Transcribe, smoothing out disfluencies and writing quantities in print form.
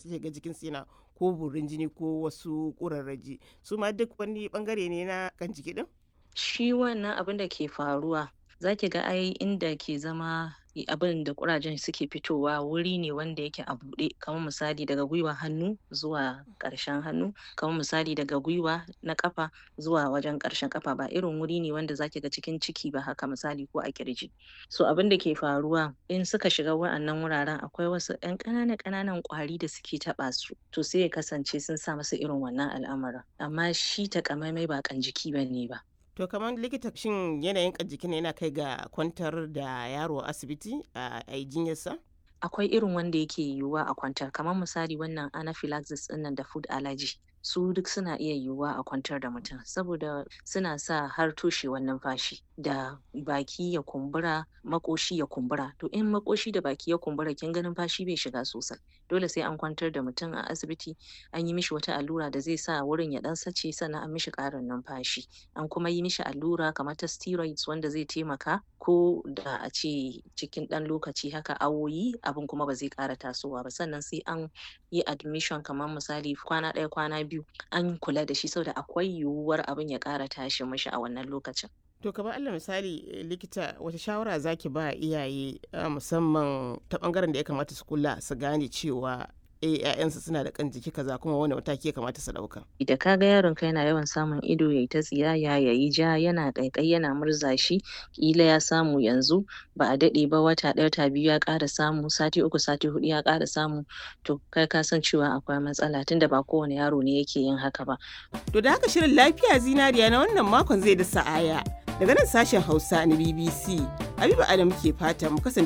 Sai ga jikinsu yana ko burin jini ko wasu ƙurarraji. Su ma duk wani bangare ne na kan jiki din? Shi wannan abin da ke faruwa, za ki ga ai inda ke zama abin da ƙurajen suke fitowa wuri ne wanda yake a buɗe, kamar misali daga gwiwa hannu zuwa ƙarshen hannu, kamar misali daga gwiwa na ƙafa zuwa wajen ƙarshen ƙafa, ba irin wuri ne wanda zaki ga cikin ciki ba haka misali ko a ƙirji. So abin da ke faruwa in suka shiga wa'annan wuraren, akwai wasu ƴan ƙanana ƙananan ƙwari da suke taɓa su, to sai ya kasance sun sa musu irin wannan al'amarin. Amma shi takamaimai ba ƙan jiki bane ba. To kamar likita, shin yanayin kan jikin yana kai ga kwantar da yaro a asibiti a yi jinyarsa? Akwai irin wanda yake yiwuwa a kwantar, kamar misali wannan anaphylaxis ɗinnan da food allergy, su duk suna iya yiwuwa a kwantar da mutum saboda suna sa har toshewar numfashi da baki ya kumbura, maƙoshi ya kumbura. To in maƙoshi da baki ya kumbura, kin ga numfashi bai shiga sosai. Dole sai an kwantar da mutum a asibiti, an yi mishi wata allura da zai sa wurin ya ɗan sace, sannan an mishi ƙarin numfashi. An kuma yi mishi allura kamar ta steroids wanda zai taimaka ko da a ce cikin ɗan lokaci haka, awoyi, abin kuma ba zai ƙara tasowa ba. Sannan sai an yi admission, kamar misali kwana ɗaya, kwana 2, an kula da shi saboda akwai yiwuwar abin ya ƙara tashi mishi a wannan lokacin. To kamar Allah misali, likita, wata shawara zaki ba iyaye, musamman ta bangaren da ya kamata su kula su gane cewa ‘ya'yansu suna da kan jiki kaza, kuma wani mataki ya kamata su ɗauka? Da ka ga yaronka yana yawan samun ido yayi ta tsiyaya, yayi ja, yana ƙaiƙayi, yana murza shi, ƙila ya samu yanzu, ba a daɗe ba, wata ɗaya, wata 2 ya ƙara samu, sati 3, sati 4 ya ƙara samu, to kai ka san cewa akwai matsala, tunda ba kowane yaro ne yake yin haka ba. To da haka shirin Lafiya Zinariya na wannan makon zai da sa'aya. Daga nan sashen Hausa na BBC, Habiba Adam ke fata mu kasance.